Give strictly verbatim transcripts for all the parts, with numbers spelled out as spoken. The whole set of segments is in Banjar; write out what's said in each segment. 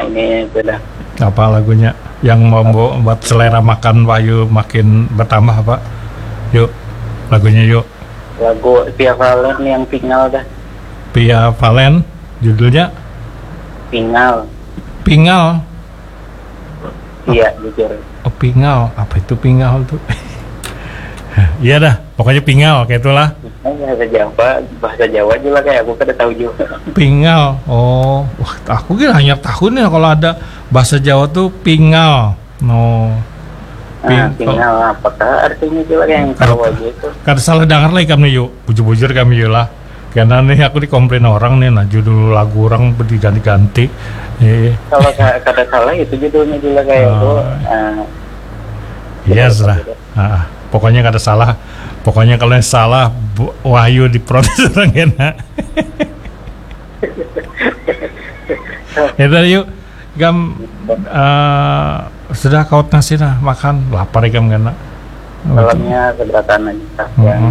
Ini sudah. Apa lagunya yang membuat selera makan Wahyu makin bertambah, Pak? Yuk, lagunya yuk. Lagu Via Valen yang Pingal dah. Via Valen, judulnya? Pingal. Pingal? Iya, jujur. Oh, pingal. Apa itu pingal tuh? Iya dah, pokoknya pingal, kayak itulah. Bahasa Jawa, bahasa Jawa juga kayak aku kada tahu juga. Pingal. Oh, wah, aku kira hanya tahun ya kalau ada bahasa Jawa tuh pingal. No. Ah, pingal, apakah artinya juga yang tahu aja itu? Kada salah dengar lah ikam nih, yuk. Bujur-bujur kami, yuk lah. Karena nih aku dikomplain orang nih, nah, judul lagu orang diganti-ganti. Iya. Kalau sa- kada salah itu judulnya juga kayak itu. Oh. Ah, iya, serah. Ah, pokoknya kada salah. Pokoknya kalau yang salah, Bu- Wahyu diprotes orang kena. Ya tadi yuk, ikam eh, sudah kaut nasi nah makan, lapar ikam kena. Salamnya seberatan aja, Kak, yang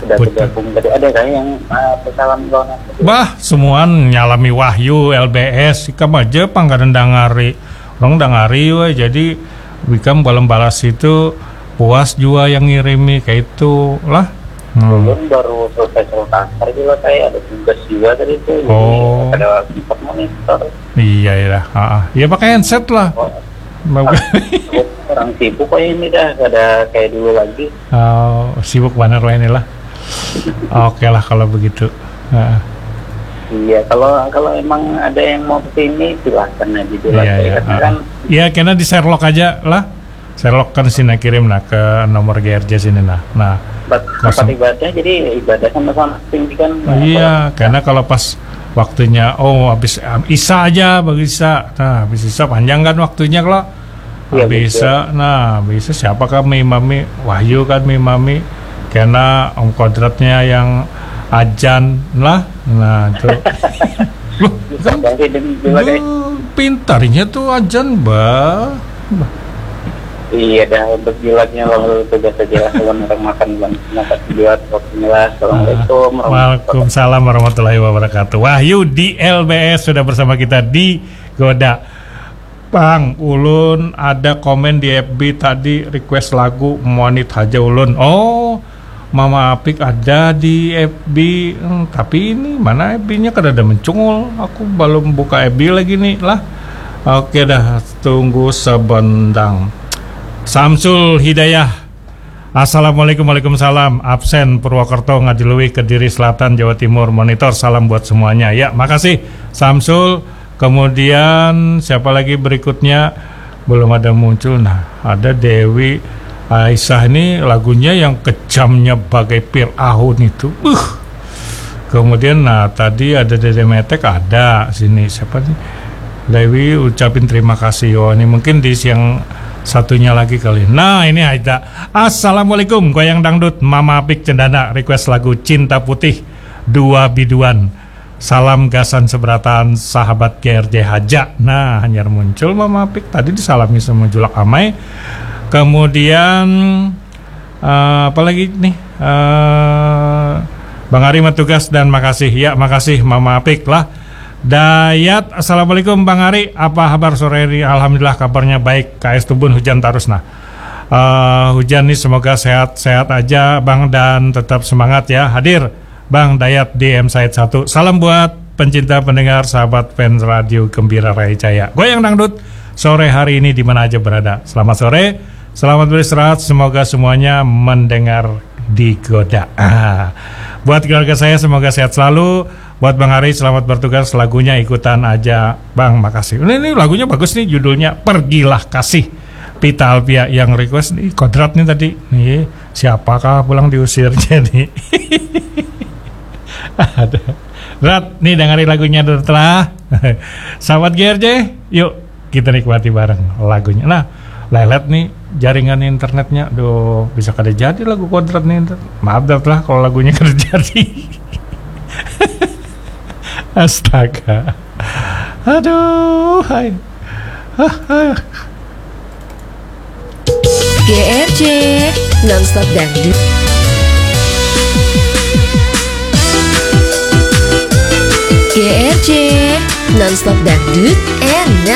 sudah bergabung tadi. Ada kah yang, eh, pesalam kawan aku? Bah, semuaan nyalami Wahyu, L B S, ikam aja pang kada dangari. Orang dangari weh, jadi ikam balas itu puas jua yang ngirimi, kayak itu lah. Hmm. Ulun baru selesai sekolah kasar juga, kayak ada tugas juga tadi tuh, jadi oh, kada sempat monitor. Iya, iya. Ah, ah. Ya pakai headset lah. Oh. Orang sibuk kayak ini dah, kada kayak dulu lagi. Oh, sibuk banget lah inilah. Oke lah kalau begitu. Ah. Iya, kalau kalau emang ada yang mau kesini, silahkan aja dulu. Iya, iya. Karena ah, kan iya, kena di Sherlock aja lah. Sherlock kan sini kirim nah ke nomor G R J sini nah. Nah, tempat kosong. Ibadah, jadi ibadah sama-sama tinggi kan. Iya, karena kalau pas waktunya, oh, habis um, Isa aja, bagi Isa. Nah, habis Isa panjang kan waktunya kalau. Iya, habis betul. Isa, nah, habis Isa siapa kan mengimami? Wahyu kan mengimami. Karena Om Kodratnya yang ajan lah. Nah, itu. Loh, kan? Pintarnya tuh ajan, bah. Iya dah, untuk jilatnya kalau tugas aja lah, kalau orang makan, bukan makan buat waktunya lah. Assalamualaikum. Ah, warahmatullahi wabarakatuh. Wahyu di L B S sudah bersama kita di Goda. Bang, ulun ada komen di F B tadi, request lagu Monit Haja Ulun. Oh, Mama Apik ada di F B, hmm, tapi ini mana F B-nya kada ada mencungul. Aku belum buka F B lagi nih lah. Oke dah, tunggu sebendang. Samsul Hidayah. Assalamualaikum, waalaikumsalam. Absen Purwokerto, Ngadiluih, Kediri Selatan, Jawa Timur. Monitor, salam buat semuanya. Ya, makasih Samsul. Kemudian siapa lagi berikutnya? Belum ada muncul. Nah, ada Dewi Aisyah ini lagunya yang kejamnya bagai Fir'aun itu. Uh. Kemudian nah tadi ada Dede Metek ada sini siapa nih? Dewi ucapin terima kasih. Oh, ini mungkin di siang satunya lagi kali. Nah, ini ada. Assalamualaikum, goyang dangdut, Mama Apik Cendana, request lagu Cinta Putih dua biduan. Salam gasan seberatan sahabat G R J Haja. Nah, hanyar muncul Mama Apik tadi disalami sama Julak Amai. Kemudian eh, apa lagi nih? Eh, Bang Ari matugas dan makasih. Ya, makasih Mama Apik lah. Dayat, assalamualaikum Bang Ari. Apa kabar sore ini? Alhamdulillah kabarnya baik. K S Tubun hujan terus nah. Eh, hujan nih semoga sehat-sehat aja Bang dan tetap semangat ya. Hadir Bang Dayat D M Said satu. Salam buat pencinta pendengar sahabat fans radio Gembira Raya Jaya. Goyang dangdut sore hari ini di mana aja berada. Selamat sore, selamat beristirahat. Semoga semuanya mendengar digoda. Ah. Buat keluarga saya semoga sehat selalu. Buat Bang Ari selamat bertugas. Lagunya ikutan aja Bang. Makasih. Ini, ini lagunya bagus nih judulnya Pergilah Kasih. Pita Alpia yang request nih Kodrat nih tadi. Nih, siapakah pulang diusir jadi. Ada. Rat, nih dengerin lagunya dulu telah. Sahabat G R J, yuk kita nikmati bareng lagunya. Nah, lelet nih jaringan internetnya. Duh, bisa kada jadi lagu Kodrat nih. Maaf dah lah kalau lagunya kada jadi. Astaga. Aduh, hai. Hah, hah. G R J, nonstop dangdut. G R J, nonstop dangdut, enak.